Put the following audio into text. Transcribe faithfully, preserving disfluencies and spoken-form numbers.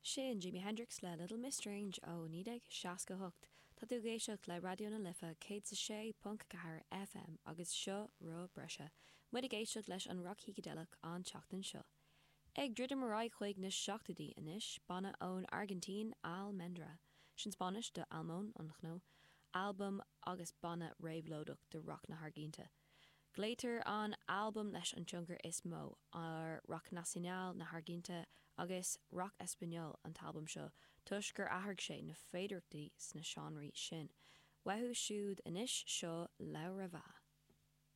Sin Jimi Hendrix le Little Miss Strange ó naoi déag seasca hocht. Tá tú ag éisteacht le Raidió na Life céad is a sé ponc ceathair FM agus seo Rogha Breise. Muid ag éisteacht leis an roc shícideileach an tseachtain seo. Ag druidim ar aghaidh chuig na seachtóidí anois, banna ón Airgintín Almendra. Sin Spáinnis do almond an chnó, albam agus banna réabhlóideach de roc na hAirgintíne. Glaotar an albam leis an tionchar is mó ar rock nacional na hAirgintíne agus rock español an t-albam seo toisc gur athraigh sé na féidearthachtaí sna seánraí sin. Uathu siúd anois seo Laura Va.